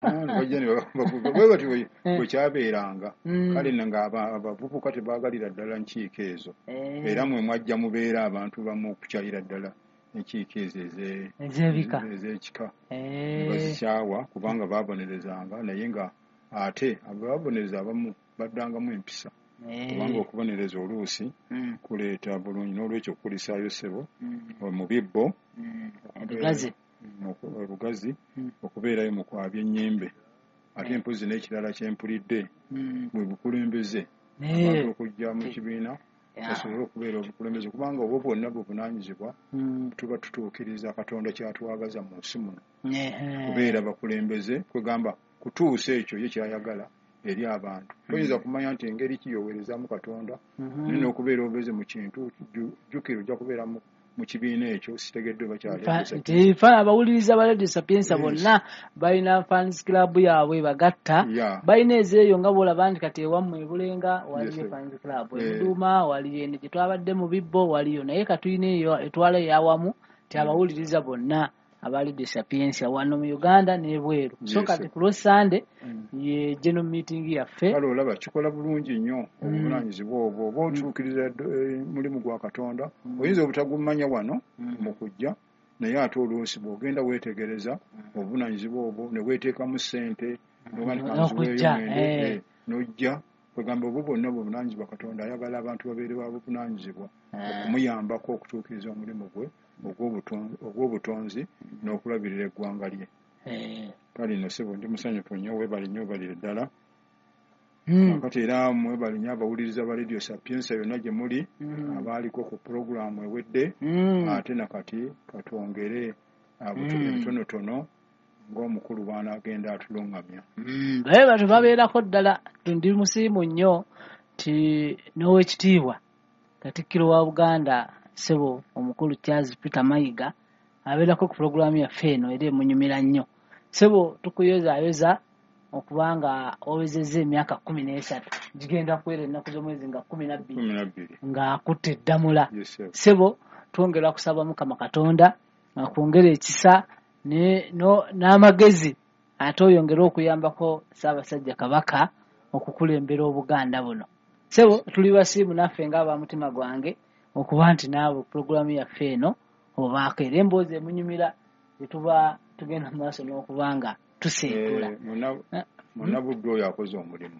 Bajja ne bwe batyo bwe kyabeeranga. Kale nga abavubuka tebaagalira ddala nkiiko ezo, era mwe mwajja mubeera abantu bamu okukyayira ddala enkiiko ezo ez'ebika, ez'ekika, bazikyawa kubanga baabonerezanga, naye nga ate ababonereza abamu baddangamu empisa, kubanga okubonereza oluusi kuleeta bulungi. N'olwekyo okukulisaayo ssebo mu bibbo Lugazi okubeerayo mu kwabya ennyimbe. Ate mpozi n'ekirala kyempulidde bwe bukulembeze, abantu okujja mu kibiina basobole okubeera obukulembeze, kubanga obwo bwonna buvunaanyizibwa tuba tutuukiriza Katonda kyatwagaza mu nsi muno, kubeera bakulembeze, kwegamba kutuusa ekyo ye kyayagala eri abantu. Toyinza kumanya nti engeri ki yoweerezaamu Katonda, naye n'okubeera obubeezi mu kintu, jjukira ojja kubeera mu kibiina ekyo sitegeddwe bakyali. Abawuliriza ba Radio Sapientia bonna balina fans club yaabwe bagatta, balina ezeeyo nga bw'olaba nti kati ewammwe Ebulenga waliyo fans club, Ebuduuma waliyo, eno gye twabadde mu bibbo waliyo, naye katulina eyo etwala eyawamu ti abawuliriza bonna aba Radio Sapientia wano mu Uganda n'ebweru. So kati ku lwa Sande ye general meeting yaffe. Kale olaba kikola bulungi nnyo obuvunaanyizibwa obwo, oba otuukiriza mulimu gwa Katonda. Oyinza obutagumanya wano mu kujja, naye ate oluusi bw'ogenda weetegereza obuvunaanyizibwa obwo ne weeteekamu ssente n'ojja, kwegamba obwo bwonna buvunaanyizibwa. Katonda ayagala abantu babeere ba buvunaanyizibwa okumuyambako okutuukiriza omulimu gwe ogw'obutonzi n'okulabirira eggwanga lye. Kale nno ssebo ndi musanyufu nnyo, weebale nnyo, weebalire ddala. Kakati era mwebale nnyo abawuliriza ba Radio Sapientia yonna gye muli, abaaliko ku pulogulaamu ewedde, ate nakati katwongere ebitonotono ng'omukulu bw'anaagenda atulungamya. Baye batyo babeerako ddala. Ndi musiimu nnyo nti n'owekitiibwa Katikkiro wa Buganda ssebo omukulu Charles Peter Mayiga abeerako ku pulogulaamu yaffe eno era emunyumira nnyo. Ssebo tukuyozaayoza okubanga owezezza emyaka 13, gigenda kuwera ennaku z'omwezi nga 12 ng'akutte eddamula. Ssebo twongera kusaba Mukama Katonda akwongere ekisa n'amagezi, ate oyongere okuyambako Ssaabasajja Kabaka okukulembera Obuganda buno. Ssebo tuli basiimu naffe ng'aba mutima gwange okuba nti naawe pulogulaamu yaffe eno obaako era emboozi emunyumira gye tuba tugenda mu maaso n'okuba nga tuseetula. Munnabuddu oyo akoze omulimu,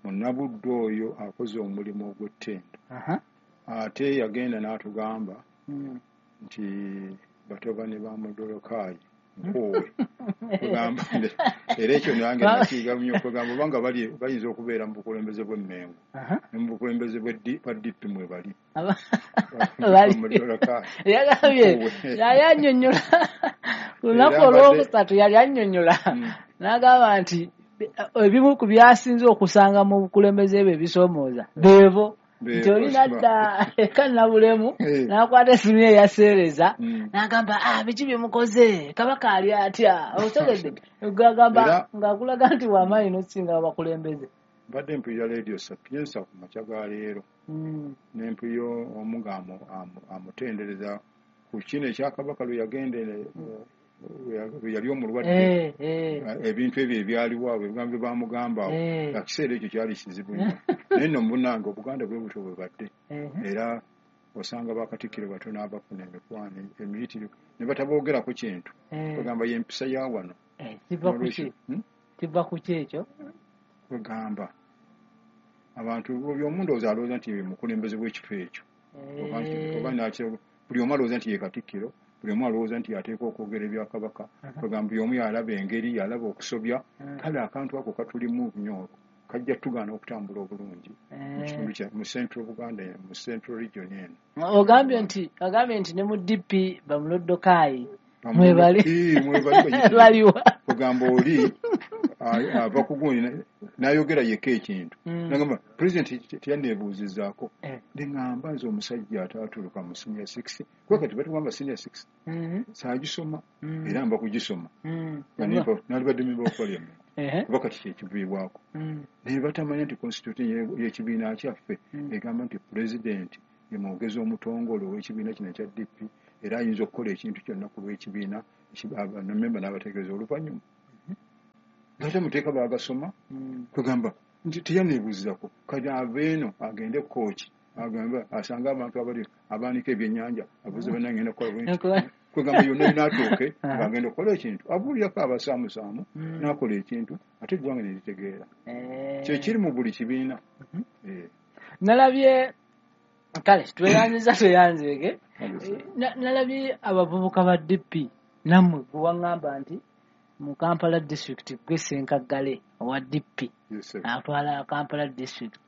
munnabuddu oyo akoze omulimu ogw'ettendo, ate yagenda n'atugamba nti batabani ba Mudolokaayi nkoowe. Era ekyo nange nakiyiga nnyo, kwegamba obanga bayinza okubeera mu bukulembeze bw'Emmengo ne mu bukulembeze bwa DP mwe bali. Yagambye yali annyonnyola ku lunaku olwokusatu, yali annyonnyola n'agamba nti ebimu ku byasinze okusanga mu bukulembeze bwe ebisoomooza beebo nti oli nadda eka Nabulemu n'akwata essimu ye eyaseereza n'agamba, biki bye mukoze, Kabaka ali atya? Otegedde, agamba ng'akulaga nti w'amaanyi n'okusinga abakulembeze. Mbadde mpulira Radio Sapientia ku makya ga leero, ne mpulira omu nga amutendereza ku kino ekya Kabaka lwe yagenda, lwe yali omulwadde, ebintu ebyo ebyaliwo awo, ebigambo bye bamugamba awo, ekiseera ekyo kyali kizibu nnyo. Naye nno munnange Obuganda bwe butyo bwe badde, era osanga bakatikkiro batono abafuna emikwano emiyitirivu ne bataboogerako kintu, kwegamba y'empisa ya wano. Kiva ku ki ekyo? Kwegamba abantu buli omu ndowooza alowooza nti mukulembeze w'ekifo ekyo, oba buli omu alowooza nti ye Katikkiro, buli omu alowooza nti yateekwa okwogera ebya Kabaka, kwegamba buli omu yalaba engeri yalaba okusobya. Kale akantu ako katulimu nnyo, kajja tugaana okutambula obulungi mu kitundu kya mu Central Buganda, mu Central Region eno. Ogambye nti ne mu DP bamulodokaayi mwebali baliwa. Kugamba oli ava ku gundi n'ayogera yekka ekintu, nagamba pulezidenti teyanneebuuzizaako. Ne ŋŋamba nze omusajja ataaturuka mu senior six, kuba kati batugamba senior six, saagisoma era mba kugisoma, nalibadde member of parliament, kuba kati kyekiviibwako. Naye batamanya nti constitution y'ekibiina kyaffe egamba nti pulezidenti ye mwogezi omutongole ow'ekibiina kino ekya DP, era ayinza okukola ekintu kyonna ku lw'ekibiina, memba n'abategeeza oluvannyuma. Ngate amateeka baagasoma, kwegamba nti teyaneebuuzako. Kati ava eno agende kooki, agambe asange abantu abali abaanika ebyennyanja, abuuze bannange, ngenda kukola bwe nti. Kwegamba yonna yinaatuuke ng'agenda okukola ekintu, abuulirako abasaamusaamu, n'akola ekintu, ate eggwanga ne litegeera. Kyekiri mu buli kibiina. Nalabye, kale tweyanziza, tweyanzeege. Nalabye abavubuka ba DP, nammwe gwe waŋŋamba nti mu Kampala District gwe Ssenkaggale owa DP atwala Kampala District,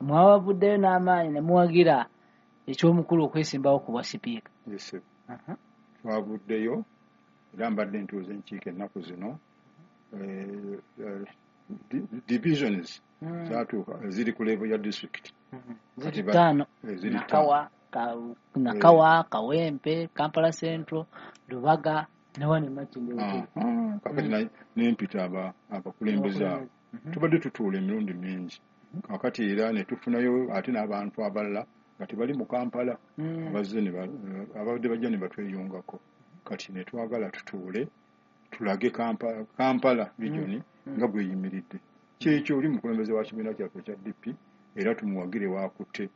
mwabavuddeyo n'amaanyi ne muwagira ekyomukulu okwesimbawo ku bwa sipiika. Twavuddeyo, era mbadde ntuuza enkiiko ennaku zino. Divisions zatuuka ziri ku level ya district. Ziri ttaano. Ziri. Nakawa, Kawempe, Kampala Central, Lubaga ne wano Makindye. Kakati nempita abakulembeze abo, tubadde tutuula emirundi mingi. Kakati era ne tufunayo ate n'abantu abalala nga tebali mu Kampala, abazze abadde bajja ne batweyungako. Kati ne twagala tutuule tulage Kampala Region nga bweyimiridde. Kyekyo, oli mukulembeze wa kibiina kyaffe ekya DP, era tumuwagire wakutte.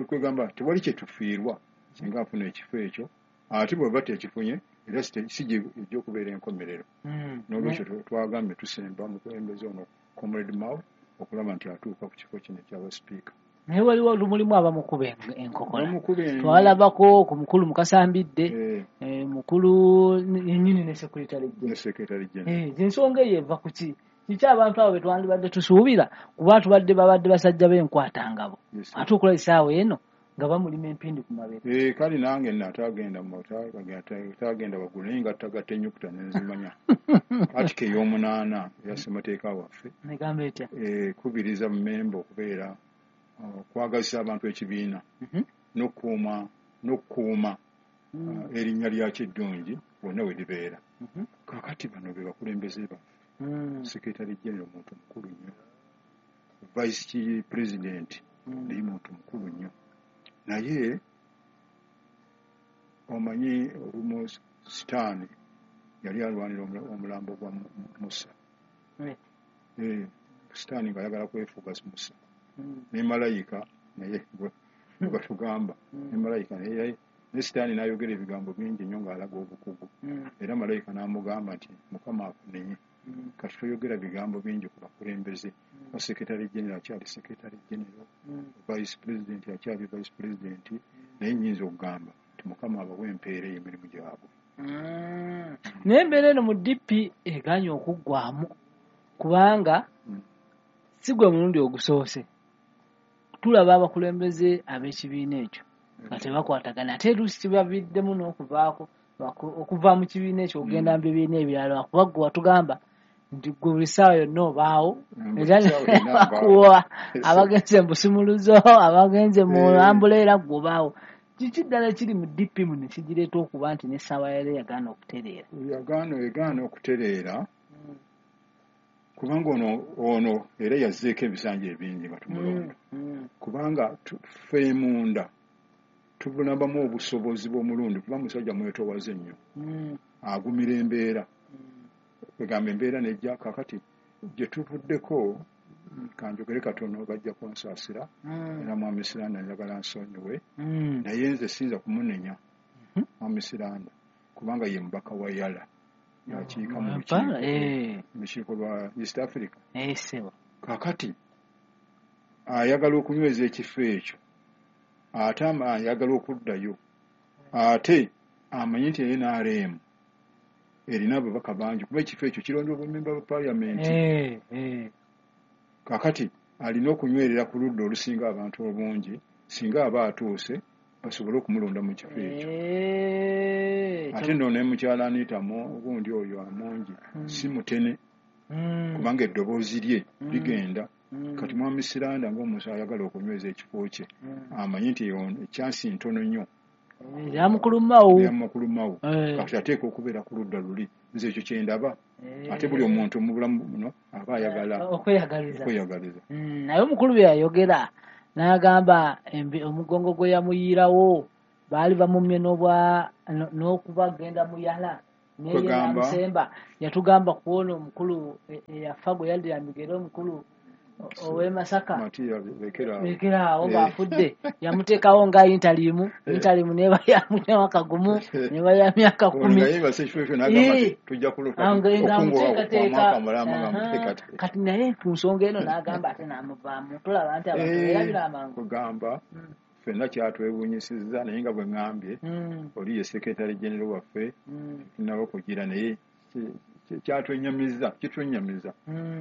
Kwegamba tewali kyetufiirwa singa afuna ekifo ekyo, ate bweba tekifunye era si ejja okubeera enkomerero. N'olwekyo twagambye tusemba mukulembeze ono Comrade Mao okulaba nti atuuka ku kifo kino ekyaba sipiika. Naye waliwo mulimu abamukuba enkokola. Twalabako ku mukulu Mukasambidde, mukulu yennyini ne secretary. General. Ensonga eyo eva ku ki? Kiki abantu abo betwandibadde tusuubira, kuba tubadde babadde basajja b'enkwatangabo, ate okulaba essaawa eno nga bamulima empindi ku mabeere? Kale nange natagenda tagenda waggulu, naye nga tagatta ennyukuta nenzimanya. Article ey'omunaana eya ssemateeka waffe negamba etya? Ekubiriza memba okubeera okwagazisa abantu ekibiina n'okukuuma erinnya lyakyo eddungi wonna we libeera. Kakati bano be bakulembeze baffe. Secretary general muntu mukulu nnyo, vice president naye muntu mukulu nnyo, naye omanyi olumu Sitaani yali alwanira omulambo gwa Musa. Sitaani ng'ayagala kwefuga Musa ne malayika, naye batugamba ne malayika naye ne Sitaani n'ayogera ebigambo bingi nnyo ng'alaga obukugu, era malayika n'amugamba nti Mukama akunenye. Kati toyogera bigambo bingi ku bakulembeze. Ba secretary general akyali secretary general, vice president akyali vice president, naye nyinza okugamba nti Mukama abawa empeera ey'emirimu gyabwe. Naye embeera eno mu DP eganye okuggwamu, kubanga si gwe mulundi ogusoose tulaba abakulembeze ab'ekibiina ekyo nga tebakwatagana, ate oluusi kibaviddemu n'okuvaako okuva mu kibiina ekyo okugenda mu bibiina ebirala, lwakuba ggwe watugamba nti gwe buli ssaawa yonna obaawo, era bakuwa abagenze mu busumuluzo, abagenze mu ambuleera, ggwe obaawo. Kiki ddala kiri mu DP muno kigireeta okuba nti n'essaawa yali yagaana okutereera? Egaana okutereera kubanga ono era yazzeeko ebisanja ebingi nga tumulonda, kubanga ffe munda tubulabamu obusobozi bw'omulundi, kuba musajja mwetowaze nnyo, agumira embeera, kwegamba embeera nejja. Kakati gye tuvuddeko, kanjogere katono, bajja kunsaasira, era mwami Siranda njagala nsonyiwe, naye nze siyinza kumunenya mwami Siranda, kubanga ye mubaka wa Yala, yakiika mu lukiiko lwa East Africa. Kakati ayagala okunyweza ekifo ekyo, ate ayagala okuddayo, ate amanyi nti NRM erina ababaka bangi, kuba ekifo ekyo kirondebwa bamemba ba paalamenti. Kakati alina okunywerera ku ludda olusinga abantu obungi, singa aba atuuse basobole okumulonda mu kifo ekyo. Ate nno ne mukyala Anita gundi oyo Amongi si mutene, kubanga eddoboozi lye ligenda. Kati mwami Siranda ng'omuntu ayagala okunyweza ekifo kye, amanyi nti ekyansi ntono nnyo. Yamukulumawo. Kati ateeka okubeera ku ludda luli. Nze ekyo kyendaba, ate buli omuntu mu bulamu buno aba ayagala okweyagaliza. Naye omukulu bye yayogera n'agamba omugongo gwe yamuyiirawo baali bamumye n'okubagenda muyala. Naye yatugamba kuwona omukulu eyafa gwe yaddira migere omukulu ow'e Masaka Lekeraawo ng'afudde yamuteekawo nga intalimu neba ya myaka gumu neba ya myaka 10 tujja kati naye ku nsonga eno n'agamba ate n'amuvaamu. Tulaba nti abantu beerabira amangu. Kugamba ffenna kyatwewuunyisizza naye nga bwe ŋŋambye oli ye secretary general waffe tunnaba kugira naye kyatwennyamiza kitwennyamiza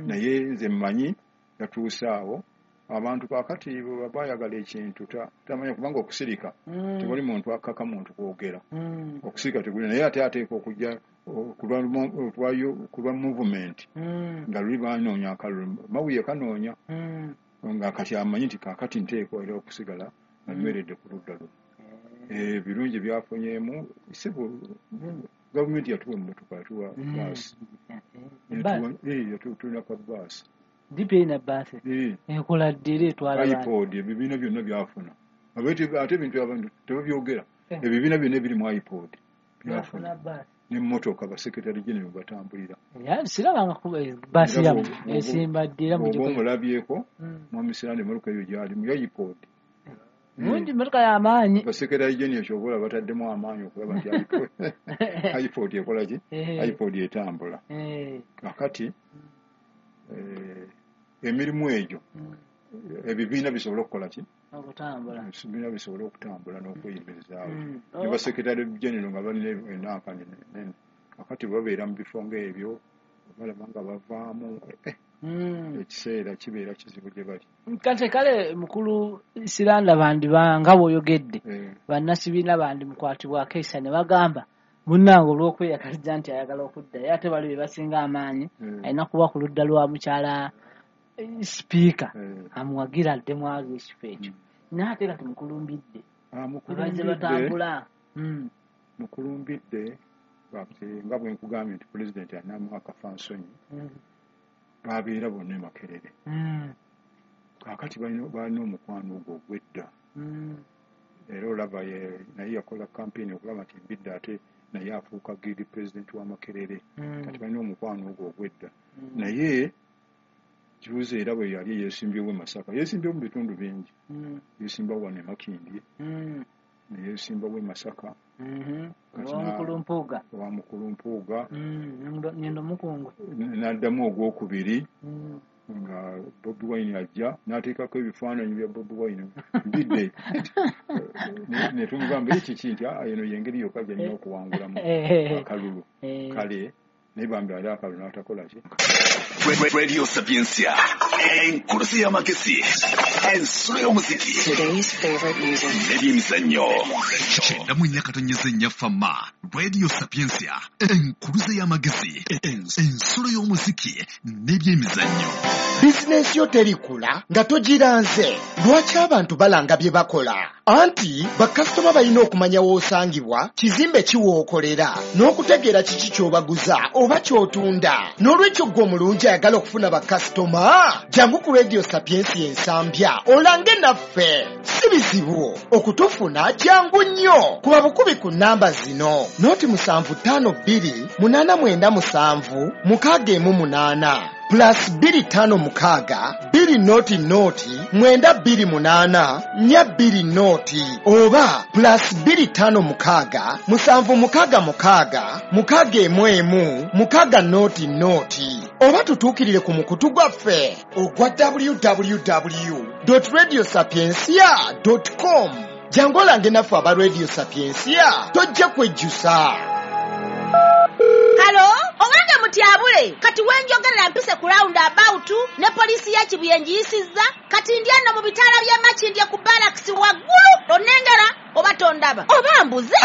naye nze mmanyi yatuuse awo abantu kaakati bwe bayagala ekintu tamanya kubanga okusirika tewali muntu akaka muntu kwogera okusirika teguli naye ate ateeka okujja ku lwa movement nga luli banoonya akalulu Mawuye kanoonya nga kati amanyi nti kaakati nteekwa era okusigala nga nyweredde ku ludda luno. Ebirungi byafunyeemu sebo gavumenti yatuwa emmotoka yatuwa baasi tulina ka baasi DP erina baasi ekola ddi era etwala iPod ebibiina byonna byafuna ate ebintu abantu tebabyogera ebibiina byonna ebiri mu iPod byafuna n'emmotoka basekretary general batambulira. Sirabanga baasi yammwe esimba ddi era mugikola. Oba omulabyeko Mwami Siranda emmotoka eyo gy'alimu ya iPod. Mungi mmotoka y'amaanyi. Basekretary general ky'oba olaba bataddemu amaanyi okulaba nti iPod ekola ki? iPod etambula. Kaakati emirimu egyo ebibiina bisobole okukola ki? Okutambula. Ebibiina bisobole okutambula n'okweyimirizaawo. Ne basekretary general nga balina enankani nene. Kaakati babeera mu bifo ng'ebyo balaba nga bavaamu ekiseera kibeera kizibu gye bali. Kati kale mukulu Siranda bandi nga bw'oyogedde bannasibiina bandi mukwatibwako ekisa ne bagamba munnange olw'okweyagaliza nti ayagala okuddayo ate bali be basinga amaanyi alina kuba ku ludda lwa mukyala sipiika amuwagira addemu ago ekifo ekyo. Naye ate kati mukulumbidde bazze batambula. Mukulumbidde nga bwe nkugambye nti pulezidenti alinamu akafansonyi babeera bonna e Makerere. Kaakati balina omukwano ogwo ogw'edda era olaba naye yakola kampeyini okulaba nti Mbidde ate naye afuuka guild president wa Makerere. Kati balina omukwano ogwo ogw'edda naye kibuuzo era bwe yali yeesimbyewo e Masaka yeesimbyewo mu bitundu bingi yeesimbawo wano e Makindye ne yeesimbawo e Masaka owa Mukulu Mpuuga Nyendo Mukungu n'addamu ogwokubiri nga Bobi Wine ajja n'ateekako ebifaananyi bya Bobi Wine Mbidde ne tumugamba kiki nti eno y'engeri yokka gy'alina okuwangulamu akalulu kale naye bambi ali akalulu n'atakola ki. Radio Sapientia enkurusi y'amagezi ensulo y'omuziki n'ebyemizannyo 94.4 Fama Radio Sapientia enkurusi y'amagezi ensulo y'omuziki n'ebyemizannyo. Bizinensi yo terikula nga togiranze. Lwaki abantu balanga bye bakola? Anti bakasitoma balina okumanya w'osangibwa, kizimbe ki w'okolera, n'okutegeera kiki ky'obaguza oba ky'otunda. N'olwekyo ggwe omulungi ayagala okufuna bakasitoma, jangu ku Radio Sapientia Ensambya olange naffe. Si bizibu okutufuna, jangu nnyo. Kuba bukubi ku nnamba zino: 0752 897 618 plus 256 2 0 0 928 420 oba plus 256 766 611 6 0 0 oba tutuukirire ku mukutu gwaffe ogwa www.radiosapientia.com. Jangu olange naffe aba Radio Sapientia, tojja kwejjusa. Halo, owange mutyabule kati wenjogerera mpise ku round about ne poliisi ya Kibuye ngiyisizza kati ndi eno mu bitaala by'e Makindye ku barracks waggulu onnengera oba tondaba oba mbuze.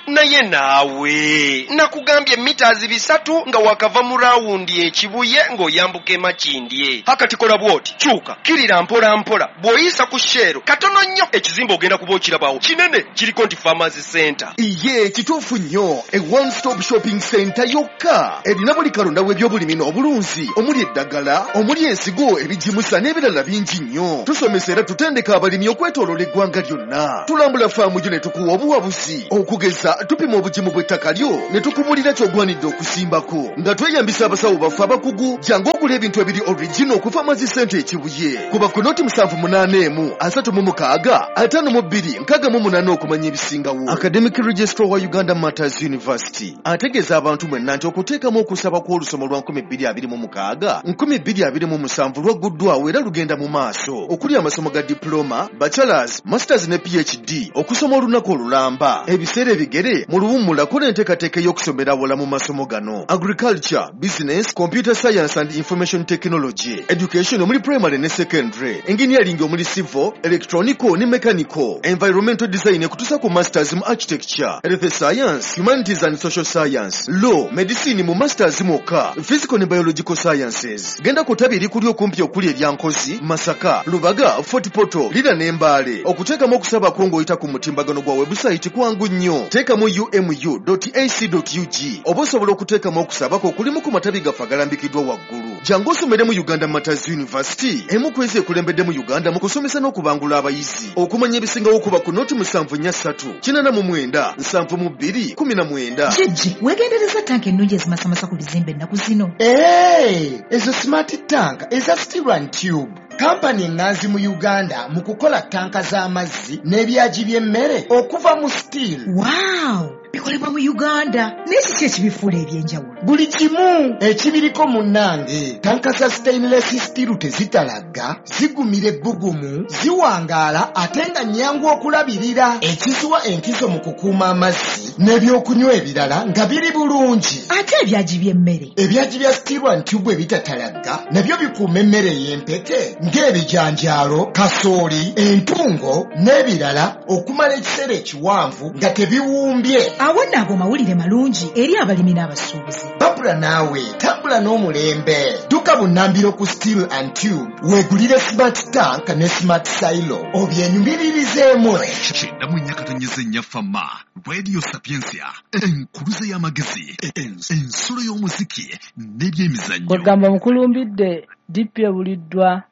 Naye naawe nakugambye mita 300 nga wakava mu rawundi e Kibuye ng'oyambuka e Makindye. Hakati kola bw'oti, kyuka kirira mpola mpola, bw'oyisa ku Shell katono nnyo ekizimbe ogenda kuba okirabawo kinene kiriko nti Farmers Center. Iye kituufu nnyo, e one stop shopping center yokka erina buli kalonda w'ebyobulimi n'obulunzi omuli eddagala, omuli ensigo, ebigimusa n'ebirala bingi nnyo. Tusomesa era tutendeka abalimi okwetooloola eggwanga lyonna. Tulambula faamu gyo ne tukuwa obuwabuzi. Okugeza tupima obugimu bw'ettaka lyo ne tukubuulira ky'ogwanidde okusimbako. Nga tweyambisa abasawo baffe abakugu, jangu ogula ebintu ebiri original okuva Mazi Center e Kibuye. Kuba ku noti 781 36 52 68 okumanya ebisingawo. Academic Registrar wa Uganda Martyrs University ategeeza abantu mwenna nti okuteekamu okusaba kw'olusoma lwa 2026 2027 lwagguddwawo era lugenda mu maaso okuli amasomo ga diploma, bachelors, masters ne PhD okusoma olunaku olulamba ebiseera ebigere mu luwummula kola enteekateeka ey'okusomera awala mu masomo gano: agriculture, business, computer science and information technology, education omuli primary ne secondary, engineering omuli civil, electronical ne mechanical, environmental design ekutuusa ku masters mu architecture, health science, humanities and social science, law, medicine mu masters mwokka, physical ne biological sciences. Genda ku ttabi erikuli okumpi okuli erya Nkozi, Masaka, Lubaga, Fort Portal, Lira ne Mbale. Okuteekamu okusaba kwo ng'oyita ku mutimbagano gwa webusayiti kwangu nnyo. Teekamu umu.ac.ug oba osobola okuteekamu okusaba kwo okulimu ku matabi gaffe agalambikiddwa waggulu. Jangu osomere mu Uganda Martyrs University, emu ku ezo ekulembedde mu Uganda mu kusomesa n'okubangula abayizi. Okumanya ebisingawo kuba ku noti 743 89 72 19. Jjajja, weegendereza tanka ennungi ezimasamasa ku bizimbe ennaku zino. Ee, ezo smart tank eza Steel and Tube, kampani eŋŋanzi mu Uganda mu kukola tanka z'amazzi n'ebyagi by'emmere okuva mu steel. Waaw, bikolebwa mu Uganda. Naye kiki ekibifuula eby'enjawulo? Buli kimu ekibiriko munnange. Tanka za stainless steel tezitalagga, zigumira ebbugumu, ziwangaala ate nga nnyangu okulabirira, ekiziwa enkizo mu kukuuma amazzi n'ebyokunywa ebirala nga biri bulungi. Ate ebyagi by'emmere? Ebyagi bya Steel and Tube ebitatalagga nabyo bikuuma emmere ey'empeke ng'ebijanjaalo, kasooli, entungo n'ebirala okumala ekiseera ekiwanvu nga tebiwumbye. Awo nno ago mawulire malungi eri abalimi n'abasuubuzi. Babula naawe tambula n'omulembe. Dduka bunnambiro ku Steel and Tube weegulire smart tank ne smart silo obyenyumiririzeemu. 94.4 Fama Radio Sapientia, enkuluze y'amagezi, ensulo y'omuziki n'ebyemizannyo. Kwegamba mukulumbidde DP ebuliddwa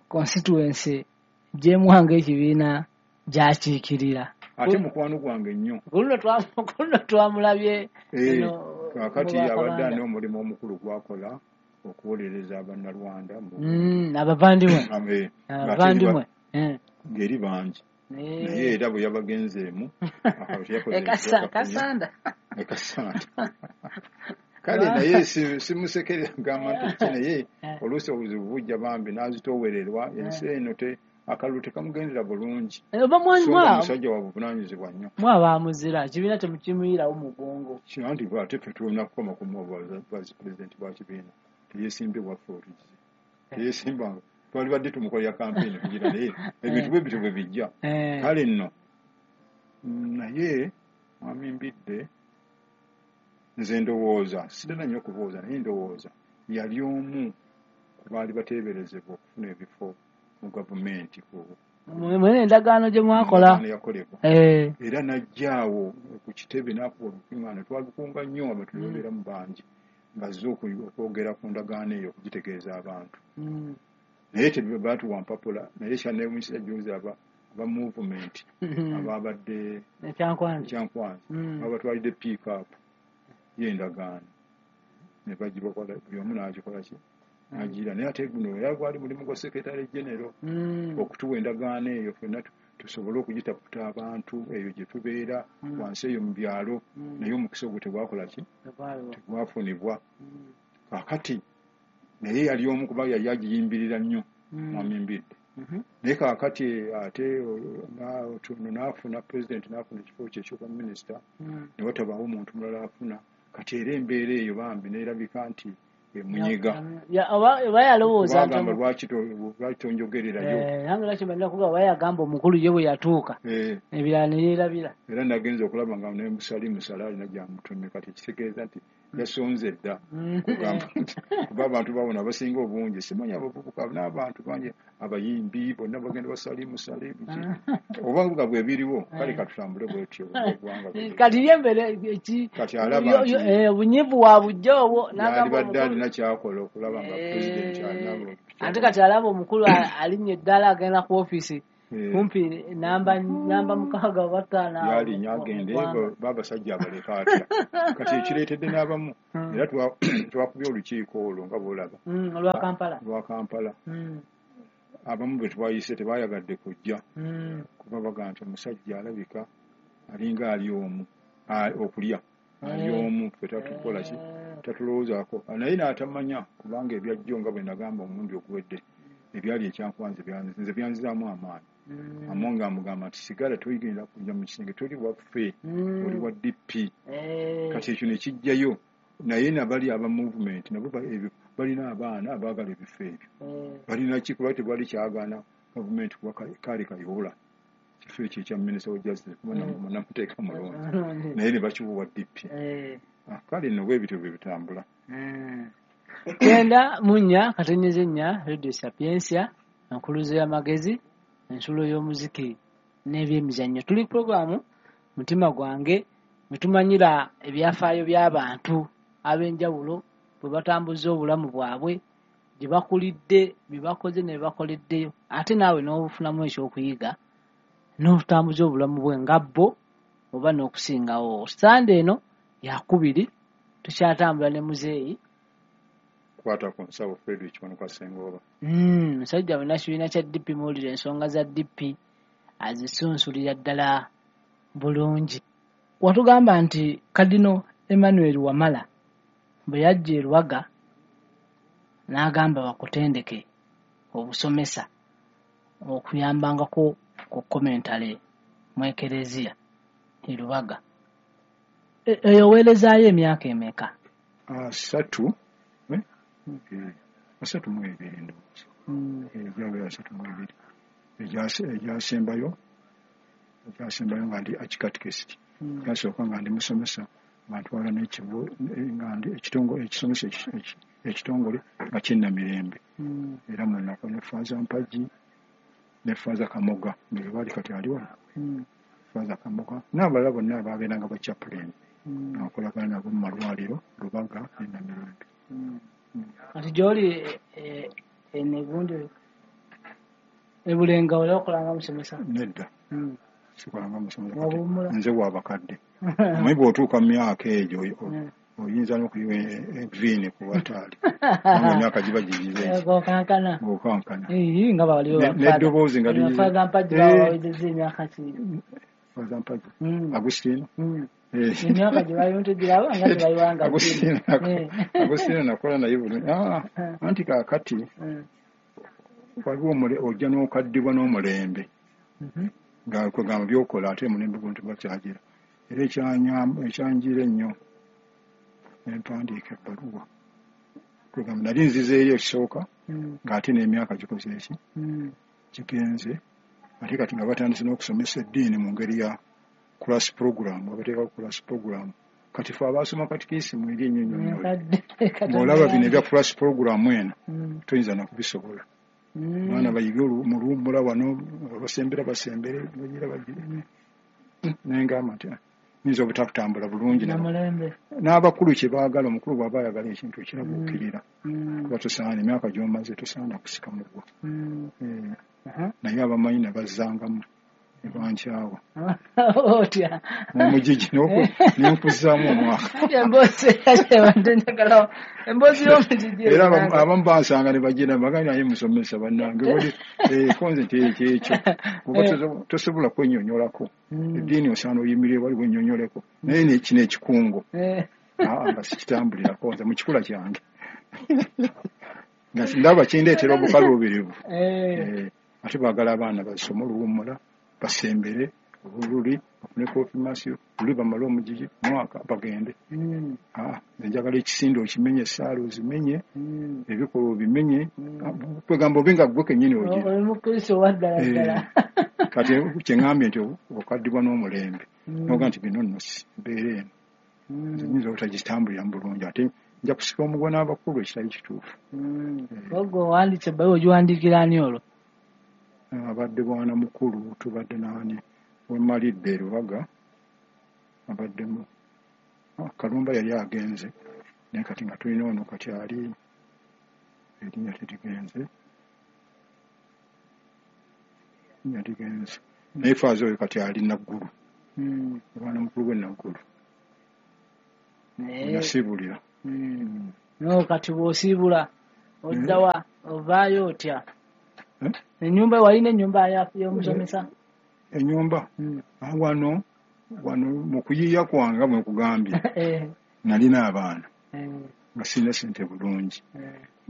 constituency gyemuwanga ekibiina gy'akiikirira. Ate mukwano gwange nnyo. Ku luno twamulabye eno Kaakati mu abadde Bwakabanda. alina omulimu omukulu gwakola okuwolereza Bannalwanda Abavandimwe. Ng'ate Abavandimwe. ng'eri bangi, naye era bwe yabagenzeemu akalulu teyakoze Ekasa kasanda. Ekasanda kale, naye simusekerera gamba nti ki, naye oluusi obuzibu bujja bambi n'azitoowererwa ensi eno te akalulu tekamugendera bulungi. Oba so nga musajja wa buvunaanyizibwa nnyo. Mwaba muzira ekibiina temukimuyirawo mugongo. Anti ate ffe tulina kukoma ku vice president wa kibiina, teyesimbye waffe otugize teyesimbanga, twalibadde tumukolera kampeyini kugira, naye ebintu bwe bityo bwe bijja. Kale nno naye mwami Mbidde, nze ndowooza sitera nnyo okubuuza, naye ndowooza yali omu ku baali bateeberezebwa okufuna ebifo mu gavumenti ku Mwene endagaano gye mwakola. Endagaano yakolebwa. Era n'ajjaawo ku kitebe n'akuba olukuŋŋaana, twalukunga nnyo abantu ne babeeramu bangi, ng'azze okwogera ku ndagaano eyo okugitegeeza abantu, naye tebaatuwa mpapula. Naye kyanneewuunyisa jjuuzi aba movement ababadde Ekyankwanzi. Kyankwanzi babatwalidde pick-up y'endagaano ne bagibakola, buli omu n'agikola ki n'agira, naye ate guno era gwali mulimu gwa secretary general okutuwa endagaano eyo ffenna tusobole okugitaputa abantu eyo gye tubeera wansi eyo mu byalo, naye omukisa ogwo tegwakola ki, tegwafunibwa. Kaakati naye yali omu kuba yali agiyimbirira nnyo mwami Mbidde, naye kaakati ate ono n'afuna president, n'afuna ekifo kye ekyobwa minisita, ne watabaawo omuntu mulala afuna. Kati era embeera eyo bambi neerabika nti emunyega. Oba yalowooza nti Kubagamba lwaki tonjogererayo? Nange lwaki mbalina kuba oba yagamba omukulu ye bwe yatuuka ebirala ne yeerabira. Era nagenza okulaba nga ne Musalimu Sala alina gyamutumye, kati ekitegeeza nti yasonze dda kugamba nti kuba abantu babona abasinga obungi, simanyi abavubuka n'abantu bangi abayimbi bonna bagenda basalimu Salimu ki, oba nga bwe biriwo. Kale katutambule bwetyo eggwanga. Kati ye embeera Kati alaba nti obunyivu wa bujja obwo n'agamba yalibadde omukulu alina kyakola okulaba nga pulezidenti alina Ate kati alaba omukulu alinnya eddala agenda ku ofiisi. Kumpi namba 6 oba 5 yali agende babasajja abaleka atya. Kati ekireetedde n'abamu era twakubye olukiiko olwo nga bw'olaba olwa Kampala. Abamu be twayise tebayagadde kujja kuba baga nti omusajja alabika alinga ali omu okulya ali omu ffe tatukola ki tatulowoozaako, naye n'atamanya kubanga ebyajjo nga bwe nagamba omulundi oguwedde ebyali ekyankwanze nze byanzizaamu amaanyi. Amonga amugamba nti sigala toyigenda kujja mu kisenge, toli waffe, oli wa DP. Kati ekyo ne kijjayo, naye nabali aba movement nabo balina abaana abaagala ebifo ebyo, balina ki kuba tebali kyagaana gavumenti kuba kaali Kayihura kifo ekyo ekya minisita wa justice kuba namuteeka mulonzi, naye ne bakiwa DP. Kale nno bwe bityo bwe bitambula. 94 4 Radio Sapientia, enkuluze y'amagezi, ensulo y'omuziki n'ebyemizannyo. Tuli programu Mutima Gwange mwetumanyira ebyafaayo by'abantu ab'enjawulo bwe batambuza obulamu bwabwe, gye bakulidde, bye bakoze ne bakoleddeyo, ate naawe n'obufunamu ekyokuyiga n'obutambuza obulamu bwe nga bo oba n'okusingawo. Sande eno yakubiri tukyatambula ne muzeeyi kwata ku nsawo Frederick Kiwanuka Ssengoba. Musajja munnakibiina kya DP, muwulira ensonga za DP azisunsulira ddala bulungi. Watugamba nti Kadino Emmanuel Wamala bwe yajja e Lubaga n'agamba bakutendeke obusomesa okuyambangako ku commentary mu Ekereziya e Lubaga. Eyo weerezaayo emyaka emeka? 32 ndowooza. Egyabeera 32. Egyasembayo nga ndi archikatekist. Gyasooka nga ndi musomesa nga ntwala nga ndi ekisomesa ekitongole nga ky'Ennamirembe. Era mwenako ne Faaza Mpagi ne Faaza Kamoga nga baali kati ali wano. Faaza Kamoga n'abalala bonna abaabeeranga ba chaplain nga nkolagana nabo mu malwaliro Lubaga ne Namirembe. Kati gy'oli enegundi ebulenga oli okolanga musomesa? Nedda, sikolanga musomesa, nze wabakadde. Omanyi bw'otuuka mu myaka egyo oyinza n'okuyiwa eviini ku wataali, kubanga emyaka giba gigize ng'okankana. Nga baliwo n'eddoboozi nga ligize. Faaza Mpagi bawawezezza emyaka ki? Faaza Mpagi Agustino. Emyaka gye balimu tugiraba nga tebayiwanga. Agustino nakola naye bulungi. Anti kaakati waliwo ojja n'okaddibwa n'omulembe nga kwegamba by'okola ate omulembe guno tebakyagira. Era ekyanjira ennyo nempandiika ebbaluwa kwegamba nali nzizeeyo ekisooka ng'ate n'emyaka gikoze eki kigenze, ate kati nga batandise n'okusomesa eddiini mu ngeri ya class program, abateekako class program. Kati ffe abaasoma katikisimu eri ennyonnyonyola ng'olaba bino ebya class program eno toyinza nakubisobola. Abaana bayige mu luwummula wano, basembera basembere, bagira bagire. Nengamba nti nyinza obutakutambula bulungi n'abakulu kye baagala. Omukulu bw'aba ayagala ekintu ekirabuukirira kuba tosaana emyaka gy'omaze tosaana kusika mugwa. Naye abamanyi ne bazzangamu ne bankyawa otya omugigi nenkuzaamu omwaka. Era abamu bansanga ne bagira bagamba naye musomesa bannange konze nti ekyo kuba tosobola kwennyonnyolako. Eddiini osaana oyimirire wali wennyonnyoleko, naye kino ekikungo nga sikitambulirako nze mu kikula kyange nga ndaba kindeetera obukaluubirivu. Ate baagala abaana basome oluwummula basembere oluli bafune konfirmasiyo luli bamale omugigi mwaka bagende. Nze njagala ekisinde okimenye, essaala ozimenye, ebikolwa obimenye, kwegamba obe nga ggwe kennyini ogira. Oli Mukristo wa ddala ddala. Kati kye ŋŋambye nti okaddibwa n'omulembe n'oga nti bino nno mbeera eno nze nnyinza obutagitambuliramu bulungi, ate nja kusika omugwa n'abakulu ekitali kituufu. Ogwo owandiise ebbaluwa ogiwandiikira ani olwo? Abadde bwana mukulu tubadde naani wemalidde e Lubaga, abaddemu Kalumba yali agenze, naye kati nga tulina ono kati ali erinnya terigenze. Yaligenze. Naye faaza oyo kati ali Naggulu. Omwana mukulu gwe Naggulu. Nasiibulira. No, kati bw'osiibula oddawa, ovaayo otya? Ennyumba, walina ennyumba y'omusomesa? Ennyumba? Wano mu kuyiiya kwange nga bwe nkugambye, nalina abaana nga sirina ssente bulungi,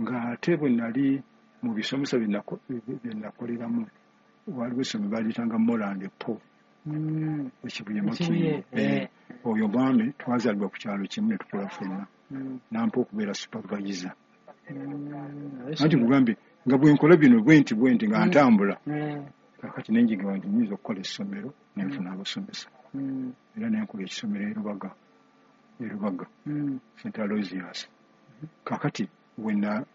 ng'ate bwe nali mu bisomesa bye nakoleramu, waliwo essomero baaliyitanga Moland Po ekibuye Makindye. Oyo mwami twazaalibwa ku kyalo kimu ne tukola ffenna, nampa okubeera supervisor. Anti nkugambye nga bwe nkola bino bwe nti nga ntambula, kakati ne njiga nti nnyinza okukola essomero ne nfuna abasomesa. Era ne nkola ekisomero e Rubaga, St. Aloysius. Kakati wenna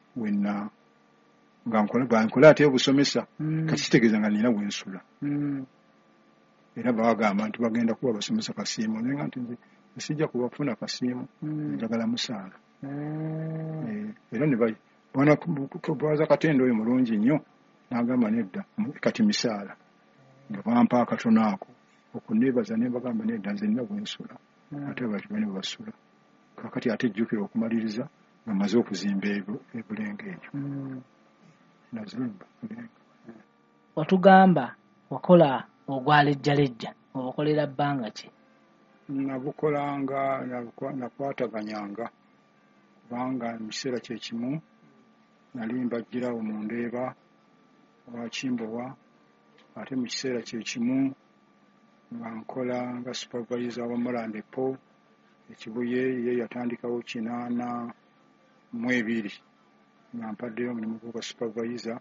nga nkola ate obusomesa, kati kitegeeza nga nina we nsula. Era baagamba nti bagenda kuwa abasomesa kasiimo, naye nga nti nze sijja kubafuna kasiimo, njagala musaala. Era ne baza Katende oyo mulungi nnyo, n'agamba nedda kati misaala. Nga bampa akatono ako okuneebaza ne mbagamba nedda nze nina bwe nsula, ate abantu bane basula. Kakati ate jjukira okumaliriza nga mmaze okuzimba ebulenga eyo. Nazimba Bulenga. Watugamba wakola ogwa lejjalejja, obukolera bbanga ki? Nabukolanga, nakwataganyanga, kubanga mu kiseera kye kimu nali mbagirawo mu Ndeeba wa Kimbowa, ate mu kiseera kye kimu nga nkola nga supervisor wa Moland Po ekibuye, ye yatandikawo 82 nga mpaddeyo omulimu gwa supervisor,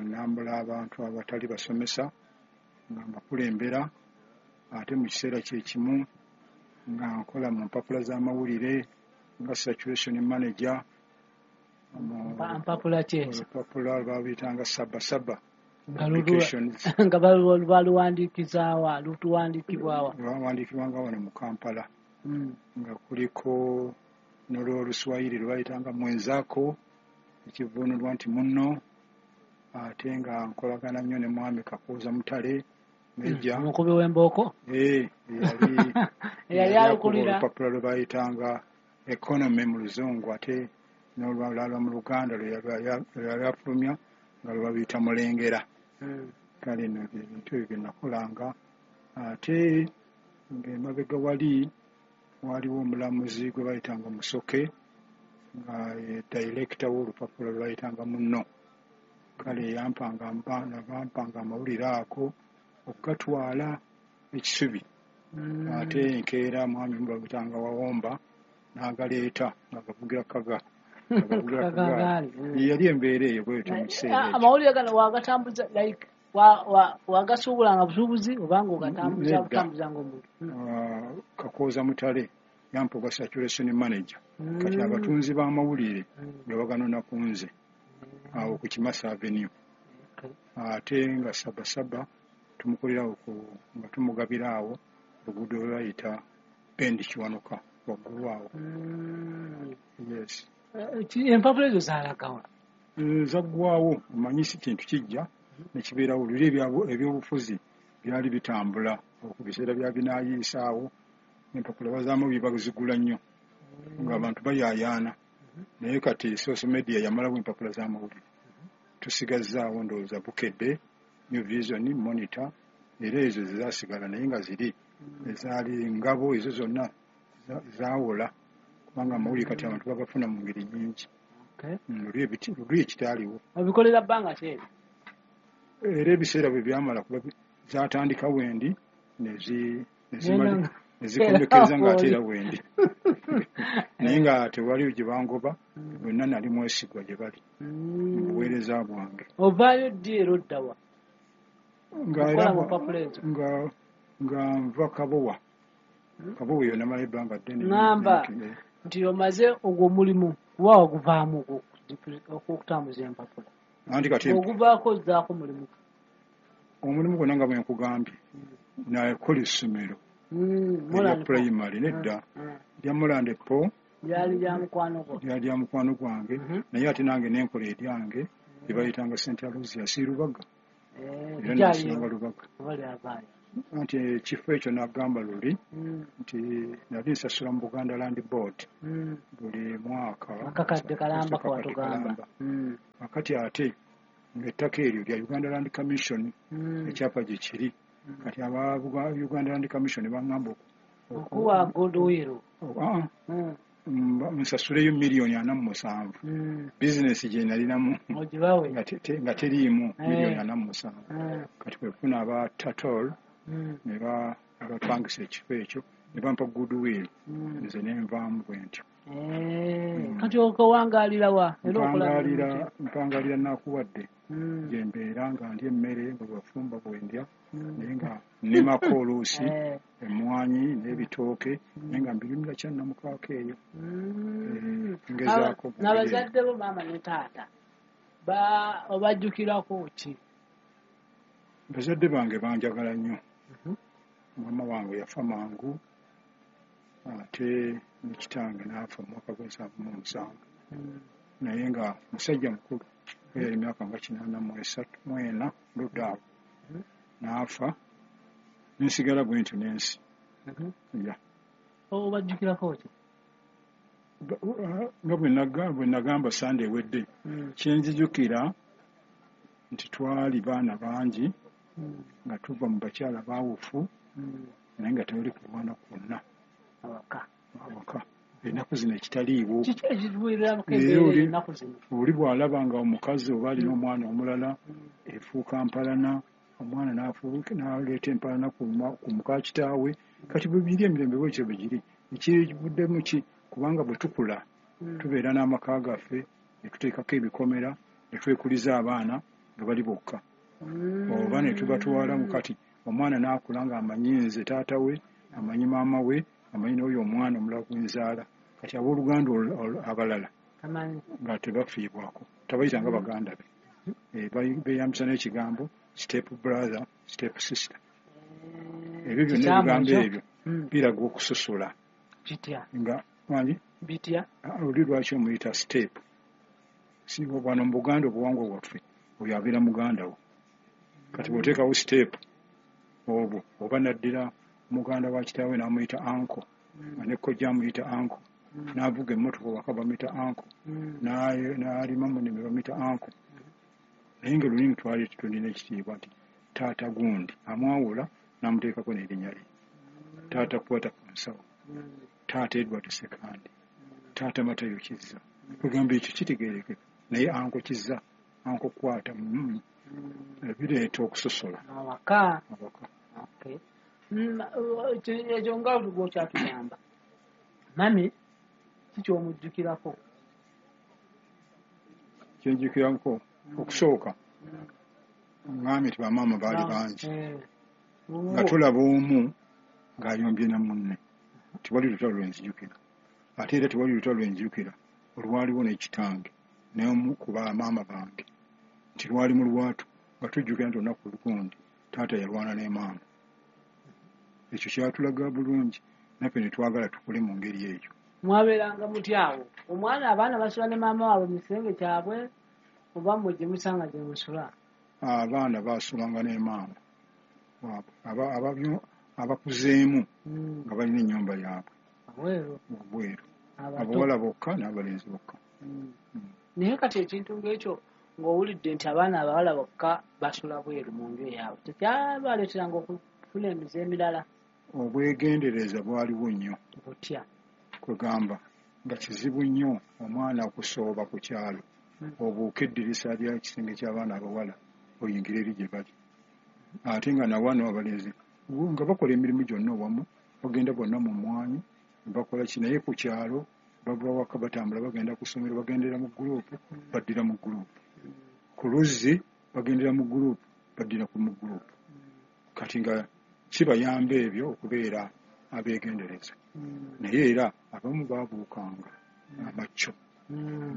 nambula abantu abatali basomesa nga mbakulembera, ate mu kiseera kye kimu nga nkola mu mpapula z'amawulire nga circulation manager. Mpapula ki ezo? Olupapula lwabuyitanga Saba Saba. Nga baluwandiikizaawa, lutuwandiikibwawa? Lwawandiikibwanga wano mu Kampala, nga kuliko n'olwoluswayiri lwe bayitanga Mwenzako, ekivvuunulwa nti munno, ate nga nkolagana nnyo ne Mwami Kakooza Mutale Meja. Omukubi w'embooko? Eyali alukulira olupapula lwe bayitanga Economy mu Luzungu, ate n'olwalala mu Luganda lwe yali afulumya nga lwe babiyita Mulengera. Kale nno ebintu ebyo bye nakolanga. Ate ng'emabega wali waliwo omulamuzi gwe bayitanga Musoke, nga ye director w'olupapula lwe bayitanga Munno. Kale yampanga amawulire ako okugatwala ekisubi. Ate enkeera mwami bamuyitanga Wawomba n'agaleeta nga gavugira kaga. Yali embeera eyo bwetyo mu kiseera ekyo. Amawulire gano wagatambuza like wagasuubulanga busuubuzi obanga ogatambuza butambuza ng'omuntu? Kakooza Mutale yampa ogwa circulation manager. Kati abatunzi b'amawulire nga baganona ku nze awo ku Kimasa Avenue. Ate nga Saba Saba tumukolerawo nga tumugabira awo oluguudo lwe bayita Bendi Kiwanuka waggulu awo. Yes. Empapula ezo zaalagawa? Zaggwawo, omanyi si kintu kijja ne kibeerawo. Luli ebyobufuzi byali bitambula ku biseera bya binaayiisa awo, empapula bazaamu bazigula nnyo ng'abantu bayaayaana. Naye kati social media yamalawo empapula z'amawulire. Tusigazzaawo ndowooza Bukedde, New Vision, Monitor, era ezo zezaasigala, naye nga ziri ezaali ngabo ezo zonna zaawola, kubanga amawulire kati abantu bagafuna mu ngeri nnyingi. Luli ekitaaliwo. Obikolera bbanga ki eryo? Era ebiseera bwe byamala kuba zaatandika wendi nezikomekkereza ng'ate era wendi. Naye nga tewali gye bangoba, bonna nali mwesigwa gye bali mu buweereza bwange. Ovaayo ddi era oddawa? Nga nva Kabowa. Kabowa eyo namala ebbanga ddene. Ŋŋamba nti omaze ogwo omulimu kuba waguvaamu ogw'okutambuza empapula. Anti kati oguvaako ozzaako mulimu. Omulimu gwonna nga bwe nkugambye, nakola essomero erya pulayimale nedda lya Moland Po lyali lya mukwano gwo? Lyali lya mukwano gwange, naye ate nange nenkola eryange lye bayitanga St. Aloysius Rubaga. Era nasulanga Lubaga. Anti ekifo ekyo nagamba luli nti nali nsasula mu Buganda Land Board buli mwaka akakadde kalamba kawatugamba. Akati ate ng'ettaka eryo lya Uganda Land Commission, ekyapa gye kiri. Kati aba Uganda Land Commission baŋŋamba okuwa goodwill, nsasuleyo 47 million. Bizinesi gye nalinamu nga teriimu 47 million. Kati kwe kufuna aba Tatol ne bapangisa ekifo ekyo ne bampa goodwill, nze ne nvaamu bwe ntyo. Kati okowangaalira wa? Mpangalira Nakuwadde, gye mbeera nga ndya emmere nga bwafumba bwe ndya, naye nga nnimako oluusi emmwanyi n'ebitooke, naye nga mbirimira Kyannamukaaka eyo. Ngezaako. N'abazadde bo, maama ne taata, obajjukirako ki? Bazadde bange banjagala nnyo. Maama wange yafa mangu, ate ne kitange n'afa mu mwaka gw'e77, naye nga musajja mukulu, yali emyaka nga 83 mwena ludda awo n'afa, nensigala bwe ntyo n'ensi ya. Obajjukirako ki? Nga bwe nagamba Sande ewedde, kyenjijukira nti twali baana bangi nga tuva mu bakyala baawufu, naye nga tewali kulwana kwonna awaka. Ennaku zino ekitaliiwo. Oli bw'alaba nga omukazi oba alina omwana omulala, efuuka mpalana, omwana n'aleeta empalana ku muka kitaawe. Kati bwe biri emirembe bwekyo bwe giri. Ekivuddemu ki? Kubanga bwe tukula tubeera n'amaka gaffe, ne tuteekako ebikomera, ne twekuliza abaana nga bali bokka, oba ne tubatwala. Kati omwana n'akula ng'amanyi nze taata we, amanyi maama we, amanyi n'oyo omwana omulala gwenzaala. Kati abooluganda abalala nga tebafiibwako, tabayita nga baganda be. Beeyambisa n'ekigambo step brother, step sister. Ebyo byonna, ebigambo ebyo biraga okusosola. Nga wangi oli lwaki omuyita step? Wano mu Buganda, obuwangwa bwaffe, oyo abeera muganda wo. Kati bw'oteekawo step obwo, oba naddira muganda wa kitaawe n'amuyita uncle, nga ne kojja amuyita uncle, n'avuga emmotoka waka bamuyita uncle, n'alima mu nnimiro bamuyita uncle. Naye nga lulimi twali tulina ekitiibwa nti taata gundi amwawula n'amuteekako n'erinnya lye: taata Kwata ku nsawo, taata Edward Sekandi, taata Matayo Kizza. Kugamba ekyo kitegeerekeka, naye uncle Kizza, uncle Kwata, bireeta okusosola. Awaka. Ekyo nga gwokyatugamba, mami kikyomujjukirako? Kyenjukirako okusooka, ŋŋambye nti bamaama baali bangi, nga tulaba omu ng'ayombye na munne, tewali lutalo lwenzijukira. Ate era tewali lutalo lwenzijukira olwaliwo n'ekitange n'omu ku bamaama bange nti lwali mu lwatu, nga tujjukira nti olunaku lugundi taata yalwana ne maama. Ekyo kyatulaga bulungi naffe ne twagala tukole mu ngeri eyo. Mwabeeranga mutya awo? Omwana, abaana basula ne maama waabwe mu kisenge kyabwe, oba mmwe gye musanga gye musula? Abaana basulanga ne maama waabwe. Abakuzeemu nga balina ennyumba yaabwe obweru, abawala bokka n'abalenzi bokka. Naye kati ekintu ng'ekyo, ng'owulidde nti abaana abawala bokka basula bweru mu nju eyaabwe, tekyabaleeteranga okufuna emize emirala? Obwegendereza bwaliwo nnyo. Butya? Kwegamba nga kizibu nnyo omwana okusooba ku kyalo, obuuka eddirisa lya kisenge ky'abaana abawala oyingire eri gye bali. Ate nga nawano abalenzi nga bakola emirimu gyonna owamu, bagenda bonna mu mmwanyi, bakola ki. Naye ku kyalo bava waka batambula bagenda ku ssomero, bagendera mu gurupu, baddira mu gurupu. Ku luzzi bagendera mu gurupu, baddira ku mu gurupu. Kati nga kibayamba ebyo okubeera abeegendereza. Naye era abamu baabuukanga amacco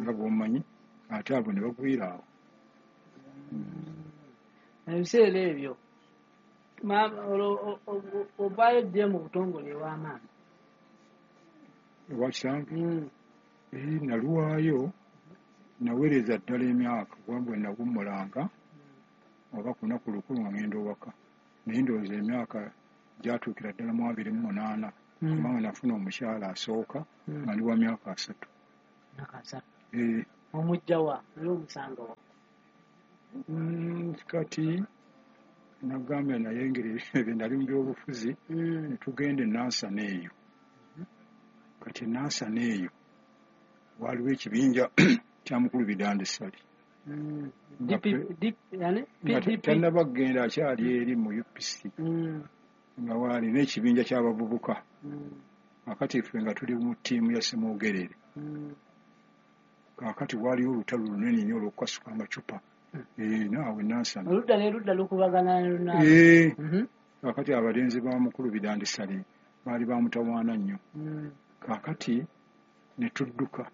nga bw'omanyi, ate abo ne bagwira awo. Ebiseera ebyo ovaayo dde mu butongole ew'amaanyi? Ewa kitange naluwaayo, naweereza ddala emyaka, kuba bwe nawummulanga Oba ku lunaku lukulu nga ngenda owaka, naye ndowooza emyaka gyatuukira ddala mu 28, kubanga nafuna omukyala asooka nga ndi wa myaka 30. Myaka 30. Omujja wa? Oli omusanga wa? Kati nagambye naye engeri ebyo nali mu byobufuzi, ne tugenda e Nansana eyo. Kati e Nansana eyo waaliwo ekibinja kya mukulu Bidandi Ssali. Nga yani PDP. Tannaba kugenda, akyali eri mu UPC, nga waali n'ekibinja ky'abavubuka. Kakati ffe nga tuli mu ttiimu ya Ssemwogerere. Kaakati waaliwo olutalo lunene nnyo olw'okukasuka amacupa. Naawe Nansana. Oludda n'erudda lukubagana lunaabe. Kaakati abalenzi ba mukulu Bidandi Ssali baali bamutawaana nnyo. Kaakati ne tudduka,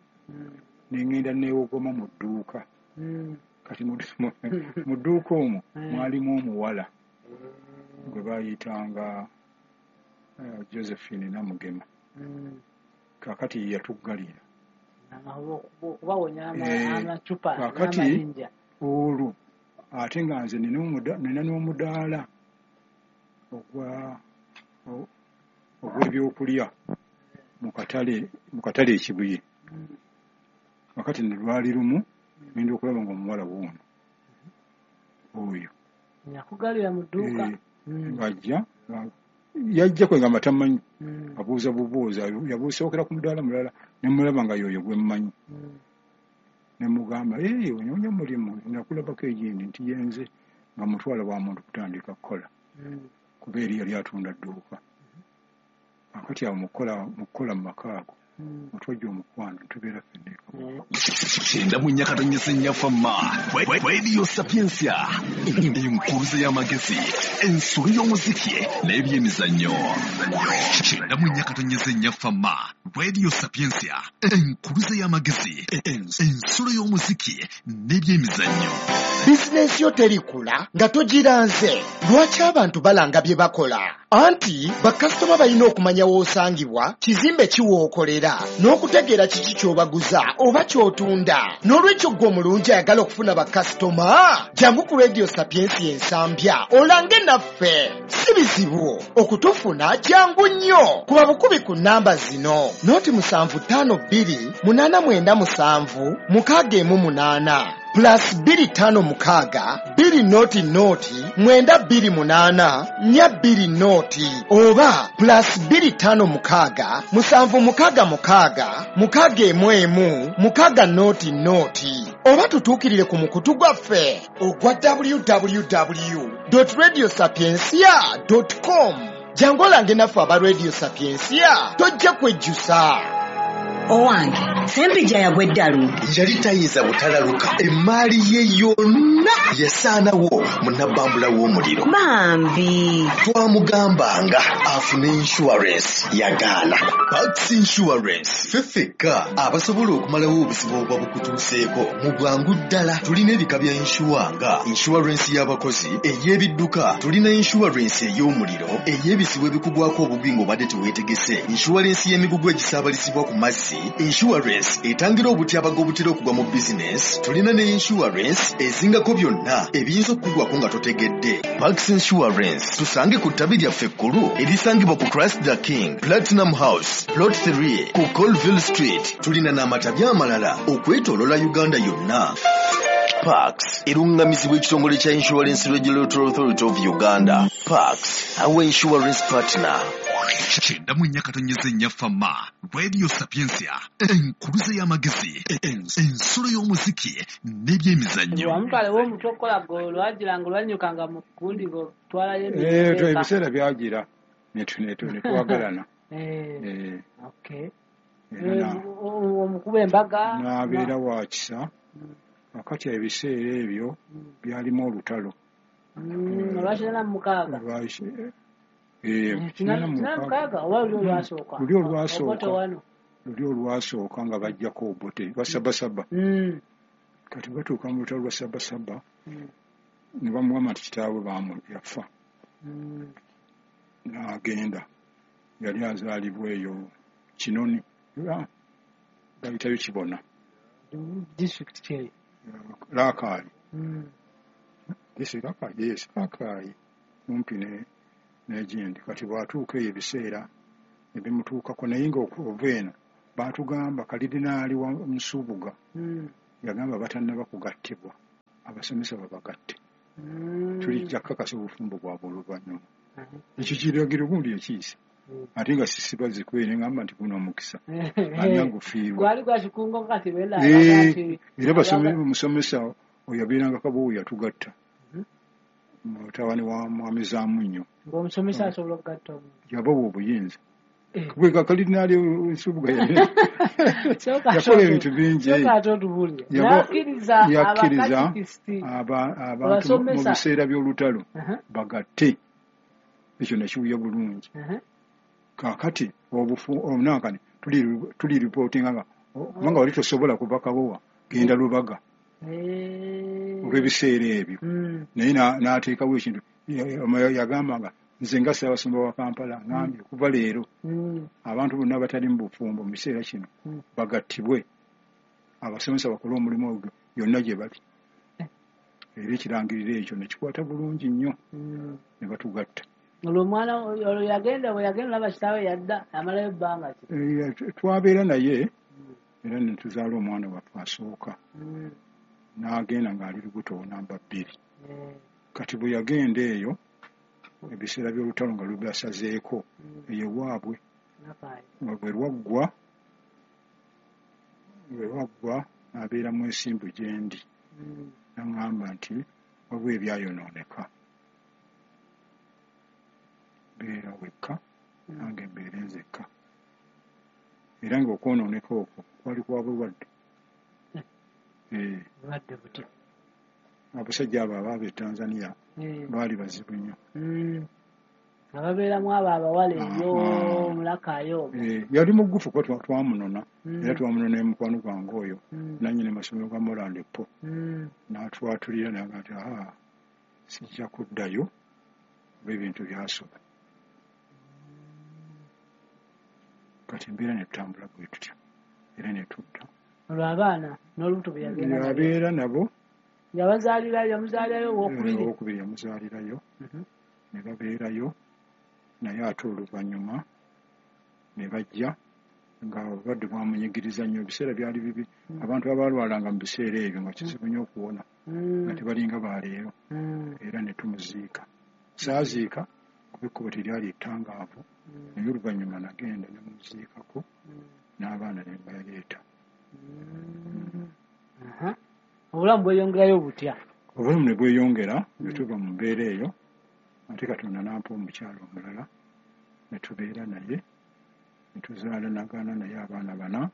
ne ŋŋenda neewogoma mu dduuka. Kati mu dduuka omwo mwalimu omuwala gwe baayitanga Josephine Namugema. Kaakati ye yatuggalira. Okubawonya amacupa Kaakati n'amayinja. olwo ate nga nze nina n'omudaala ogw'ebyokulya mu katale e Kibuye. Kakati ne lwali lumu ngenda okulaba nga omuwala wuuno oyo Yakugalira mu dduuka. Ng'ajja yajja kwegamba tamanyi, abuuza bubuuza, yabuusookera ku mudaala mulala ne mulaba nga y'oyo gwe mmanyi. Ne mugamba, "Ee, onoonya mulimu? Nakulabako egindi." Nti yenze, nga mutwala wa muntu kutandika kukola, kuba eri yali atunda dduuka. Kakati awo mu kukola mu maka ago otwajja omukwano, tubeera ffenna eka. 94.4 Fama Radio Sapientia, enkuluze y'amagezi, ensulo y'omuziki n'ebyemizannyo. 94.4 Fama Radio Sapientia, enkuluze y'amagezi, ensulo y'omuziki n'ebyemizannyo. Bizinensi yo terikula nga togiranze. Lwaki abantu balanga bye bakola? Anti bakasitoma balina okumanya w'osangibwa, kizimbe ki w'okolera, n'okutegeera kiki ky'obaguza oba ky'otunda. N'olwekyo ggwe omulungi ayagala okufuna bakasitoma, jangu ku Radio Sapientia Ensambya olange naffe. Si bizibu okutufuna, jangu nnyo kuba bukubi ku namba zino: 0752 897 618, +256 200 928 420, oba +256 766 611 600, oba tutuukirire ku mukutu gwaffe ogwa www radio sapiencia com. Jangu olange naffe aba Radio Sapiencia, tojja kwejjusa. Owange Sempijja yagwa eddalu. Yali tayinza butalaluka, emaali ye yonna yasaanawo mu nabbambula w'omuliro. Bambi. Twamugambanga afune insurance, yagaana. Pax Insurance, ffe ffekka abasobola okumalawo obuzibu obuba bukutuuseeko mu bwangu ddala. Tulina ebika bya insure nga insurance y'abakozi, ey'ebidduka, tulina insurance ey'omuliro, ey'ebizibu ebikugwako obugwi ng'obadde teweetegese, insurance y'emigugu egisaabalizibwa ku mazzi, insurance etangira obutyabaga obutera okugwa mu bizinesi. Tulina ne insurance ezingako byonna ebiyinza okukugwako nga totegedde. Pax Insurance, tusange ku ttabi lyaffe ekkulu erisangibwa ku Christ the King Platinum House, Plot 3, ku Colville Street. Tulina n'amatabi amalala okwetoolola Uganda yonna. Pax eruŋŋamizibwa ekitongole kya Insurance Regulatory Authority of Uganda. Pax, our insurance partner. 94.4 Fama Radio Sapientia, enkuluze y'amagezi, ensulo y'omuziki n'ebyemizannyo. Wamutwalewo omutwe okukola gwe lwagiranga olwanyukanga mu kundi ng'otwalayo. Ebiseera byagira ne twagalana. Era Omukuba embaga. N'abeera wa kisa. Kakati ebiseera ebyo byalimu olutalo. Olwa 86. Kinaana mu Kinaana mukaaga. mukaaga oba luli olwasooka? Luli olwasooka. Obote wano. Luli olwasooka nga bajjako Obote lwa 77. Kati batuuka mu lutalo lwa 77, ne bamugamba nti kitaawe bamu yafa. N'agenda, yali azaalibwa eyo Kinoni. Bayitayo Kibona. District ki? Laakaali. Yes, Rakai kumpi n'egindi. Kati bw'atuuka eyo ebiseera ebimutuukako, naye nga ova eno baatugamba kalidinaali wa Nsubuga yagamba batannaba kugattibwa, abasomesa babagatte, tulijja kakasa obufumbo bwabwe oluvannyuma. Ekyo kiragiro gundi ekiisa, ate nga sisiba zikwere, ngamba nti guno omukisa ani agufiirwa? Gwali gwa kikungo kati bena. Era omusomesa oyo abeeranga Kabowo, yatugatta, mutabani wa Mwami Zaamunnyo. Ng'omusomesa asobola okugatta omuntu? Yabawa obuyinza. Gwe kalidinaali Nsubuga yakola ebintu bingi. Sooka ate otubuulire. N'akkiriza Yakkiriza abakatikisiti abantu mu abasomesa. biseera by'olutalo bagatte. Ekyo nakiwuya bulungi. Kaakati obufu omunankani tuli ripootinga nga kubanga wali tosobola kuva Kabowa genda Lubaga olw'ebiseera ebyo. Naye n'ateekawo ekintu. Yagamba nga nze nga Ssaabasumba wa Kampala ngambye okuva leero abantu bonna abatali mu bufumbo mu kiseera kino bagattibwe, abasomesa bakole omulimu ogwo yonna gye bali. Era ekirangiriro ekyo nekikwata bulungi nnyo ne batugatta. Olwo omwana olwo yagenda, bwe yagenda olaba kitaawe yadda amalayo ebbanga ki? Twabeera naye era ne tuzaala omwana waffe asooka. N'agenda ng'ali lubuto namba 2. Kati bwe yagenda eyo ebiseera by'olutalo nga lubasazeeko eyo waabwe, Nakaayi. Nga bwe lwaggwa n'abeera mwesimbu gye ndi. Naŋŋamba nti waliwo ebyayonooneka, beera wekka, nange mbeere nzekka. Era ng'okwonooneka okwo kwali kwa bulwadde. Bulwadde butya? Abasajja abo abaava e Tanzania baali bazibu nnyo. Nga babeeramu abo abawala eyo mulakayo. Yali mugufu kuba twamunona. Era twamunona ne mukwano gwange oyo nannyini masomero ga Moland Po. N'atwatulira naga nti aa, sijja kuddayo oba ebintu byasoba. Kati embeera ne tutambula bwe tutya era ne tudda. Olwo abaana n'olubuto bwe yagenda nabyo? Abeera nabo. Yabazaalirayo, yamuzaalirayo owokubiri? Owokubiri yamuzaalirayo. Ne babeerayo naye, ate oluvannyuma ne bajja nga obulwadde bwamunyigiriza nnyo. Ebiseera byali bibi, abantu abalwalanga mu biseera ebyo nga kizibu nnyo okuwona, nga tebalinga baleero. Era ne tumuziika. Saaziika kuba ekkubo teryali ettangaavu, naye oluvannyuma nagenda ne muziikako n'abaana ne mbaleeta. Aha. Obulamu bweyongerayo butya? Obulamu ne bweyongera, ne tuva mu mbeera eyo, ate Katonda n'ampa omukyalo omulala ne tubeera naye ne tuzaala nagaana naye abaana bana,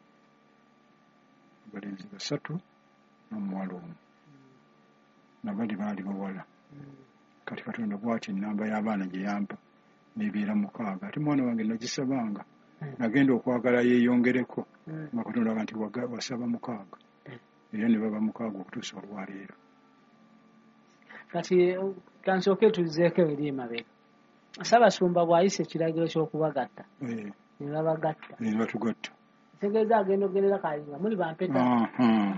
abalenzi basatu n'omuwala omu, nabali baali bawala. Kati Katonda bw'ati ennamba y'abaana gye yampa nebeera 6, ate mwana wange nagisabanga. Nagenda okwagala yeeyongereko, nga Katonda aga nti wasaba 6, era ne baba 6 okutuusa olwaleero. Kati kansooke tuzzeeko eri emabega. Ssaabasumba bw'ayisa ekiragiro ky'okubagatta, ne babagatta. Ne batugatta. Kitegeeza agenda okugendera kali nga muli bampeta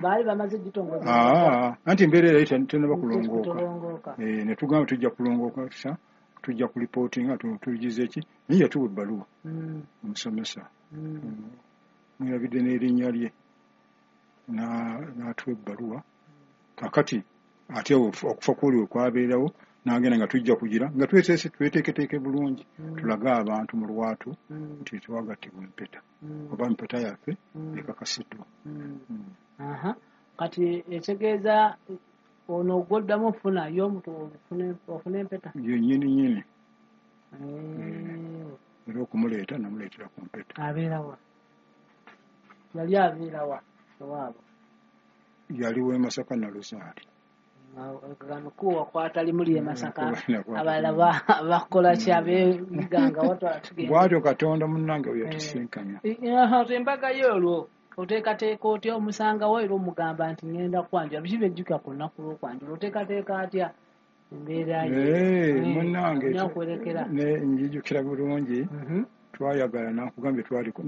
baali bamaze gitongoza? Anti embeera era tennaba kulongooka. Kutolongooka. Ne tugamba tujja kulongooka sa tujja kulipootinga tugize ki, naye yatuwa ebbaluwa. Omusomesa mwerabidde n'erinnya lye, n'atuwa ebbaluwa. Kakati ate okufa kwoli we kwabeerawo, n'agenda nga tujja kugira nga tweteese, tweteeketeeke bulungi, tulage abantu mu lwatu nti twagattibwa empeta oba empeta yaffe ekakasiddwa. Aha. Kati ekitegeeza ono gw'oddamu okufuna ye omuntu ofune empeta? Yennyini nyini. Era okumuleeta namuleetera ku mpeta. Abeerawa? Yali abeerawa ewaabwe? Yali w'e Masaka Naluzaali. Kuwa wakwata limu ly'e Masaka. Nakwata abalala limu. Bakola ki ab'emiganga watwala tugenda. Bw'atyo Katonda munnange bwe yatusinkanya. Embaga yo olwo oteekateeka otya? Omusangawo era omugamba nti ŋŋenda kwanjula? Biki byejjuka ku lunaku lw'okwanjula? Oteekateeka atya embeera ye? Munnange, olina okwerekera. Ne njijukira bulungi, twayagala nakugambye twali ku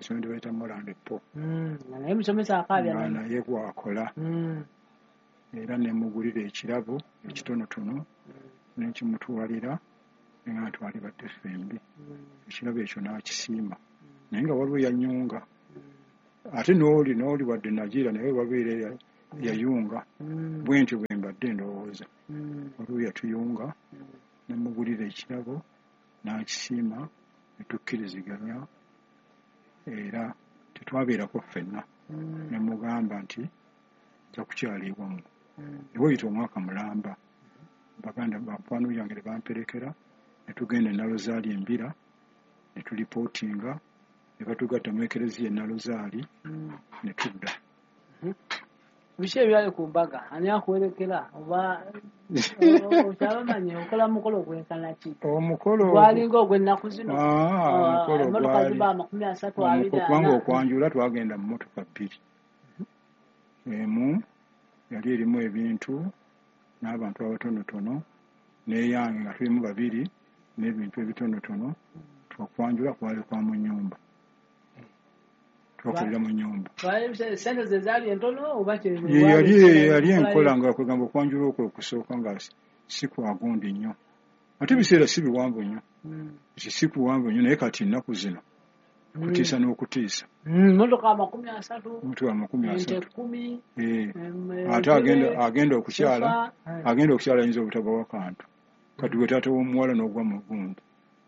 ssomero bayita Moland Po. Nga naye musomesa akaabya nga naye. Naye gwakola. Era ne mugulira ekirabo ekitonotono ne nkimutwalira, nga twali badde ffembi. Ekirabo ekyo n'akisiima, naye nga waliwo yanyunga ate n'oli wadde nagira, naye waliwo era yayunga. Bwe ntyo bwe mbadde ndowooza. Waliwo yatuyunga, nemugulira ekirabo n'akisiima, ne tukkiriziganya, era tetwabeerako ffenna. Ne mugamba nti nja kukyala ewammwe. Ewayita omwaka mulamba, baganda bakwano yange ne bamperekera, ne tugenda e Nalozaali Embira, ne tulipootinga, ne batugatta mu ekereziya e Nalozaali, ne tudda. Biki ebyali ku mbaga? Ani akuwerekera, oba okyabamanye okola mukolo gwenkana ki? Omukolo gwalinga ogw'ennaku zino? Ah, omukolo emmotoka gwali ziba 30, 20. Kubanga 40. Okwanjula twagenda mu mmotoka bbiri. Emu yali erimu ebintu n'abantu abatonotono, n'eyange nga tulimu babiri n'ebintu ebitonotono. Twakwanjula kwali kwa mu nnyumba, twakolera mu nnyumba. Sente ze zaali entono oba? Ye yali enkola nga kwegamba okwanjula okwo okusooka nga si kwagundi nnyo, ate ebiseera si biwanvu nnyo, si kuwanvu nnyo, naye kati ennaku zino kutiisa n'okutiisa. Motoka 30. Motoka amakumi ente asatu. 10. Ate agenda okukyala sofa. Agenda okukyala ayinza obutabawa kantu. Kati gwe taata w'omuwala n'ogwa mu gundi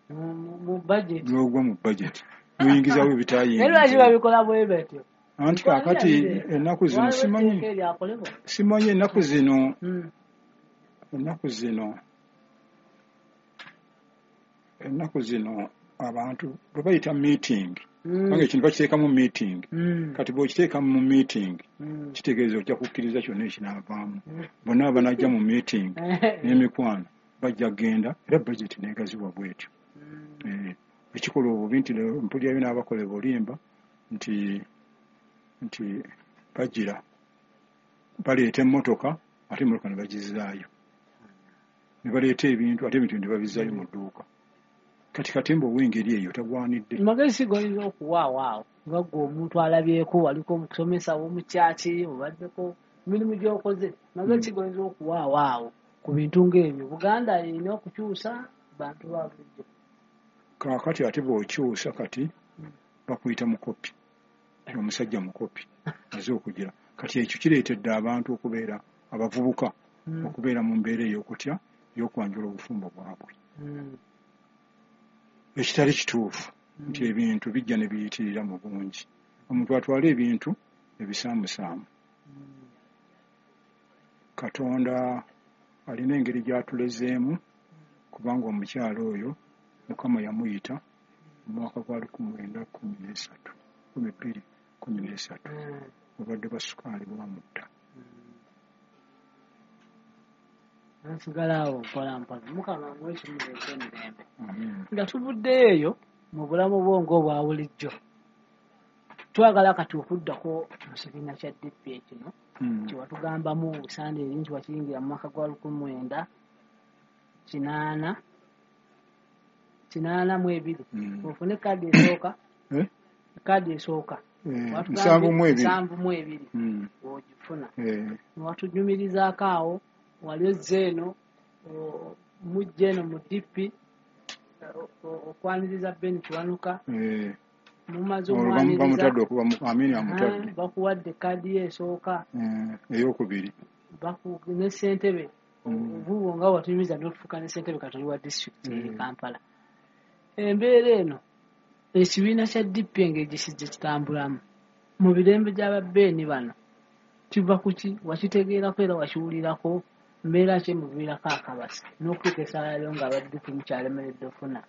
mu budget. N'ogwa mu budget, n'oyingizawo Naye lwaki ebitayingiza. babikola bwe batyo? Anti kaakati ennaku zino Waliwo simanyi etteeka eryakolebwa. Simanyi ennaku zino, ennaku zino abantu bwe bayita meeting, kubanga ekintu bakiteekamu meeting. Kati bw'okiteeka mu meeting, kitegeeza ojja kukkiriza kyonna ekinaavaamu. Bonna abanajja mu meeting n'emikwano bajja kugenda, era budget neegaziwa bwetyo. Ekikola obubi nti mpulirayo n'abakola obulimba nti bagira baleeta emmotoka, ate emmotoka ne bagizaayo, ne baleeta ebintu, ate ebintu ne babizaayo mu dduuka. Kati katemba ow'engeri eyo tagwanidde. Magezi si goyinza okuwaawo awo nga gwe omuntu alabyeko, waliko omusomesa w'omukyaki, obaddeko mirimu gy'okoze, magezi si goyinza okuwaawo awo ku bintu ng'ebyo? Buganda erina okukyusa bantu ba bulijjo. Kaakati ate bw'okyusa, kati bakuyita mukopi, omusajja mukopi aze okugira. Kati ekyo kireetedde abantu okubeera abavubuka okubeera mu mbeera ey'okutya ey'okwanjula obufumbo bwabwe, ekitali kituufu nti ebintu bijja ne biyitirira mu bungi, omuntu atwale ebintu ebisaamusaamu. Katonda alina engeri gy'atulezeemu, kubanga omukyalo oyo Mukama yamuyita mu mwaka gwa 1913, 2013. Obulwadde bwa sukaali bwamutta. Nsigala awo mpola mpola. Mukama amuwe ekirungi eky'emirembe. Amiina. Nga tuvuddeyo eyo mu bulamu bwo ng'obwa bulijjo, twagala kati okuddako mu kibiina kya DP kino kyewatugambamu Sande eri nti wakiyingira mu mwaka gwa 1982. Ofune kaadi esooka. Eh? Kaadi esooka. Eh, Watugambye 72. 72. Ogifuna. Watunyumirizaako awo wali ozze eno mujja eno mu DP okwaniriza Ben Kiwanuka. Mumaze Olwo omwaniriza. Bamutadde okuba Amini amutadde. Bakuwadde kaadi ye esooka. Eyokubiri. Ne ssentebe obubo nga watunyumiza n'otufuuka ne ssentebe katoli wa disitulikiti e Kampala. Embeera eno ekibiina kya DP engeri gye kijja kitambulamu mu mirembe gy'ababeeni bano kiva ku ki? Wakitegeerako era wakiwulirako? Mbeera ki emuviirako akabasa n'okutuuka essaawa leero nga aba DP mukyalemeredde ofuna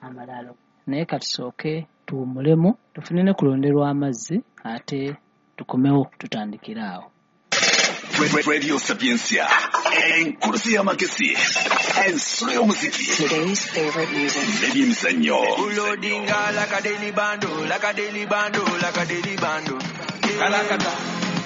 amalaalo? Naye katusooke tuwummulemu, tufune ne kulonderwa amazzi, ate tukomewo tutandikire awo. Radio Sapientia, enkuluze y'amagezi, ensulo y'omuziki Today's favorite music. n'ebyemizannyo. Loadinga like a daily bando, like a daily bando, like a daily bando. Kalakata.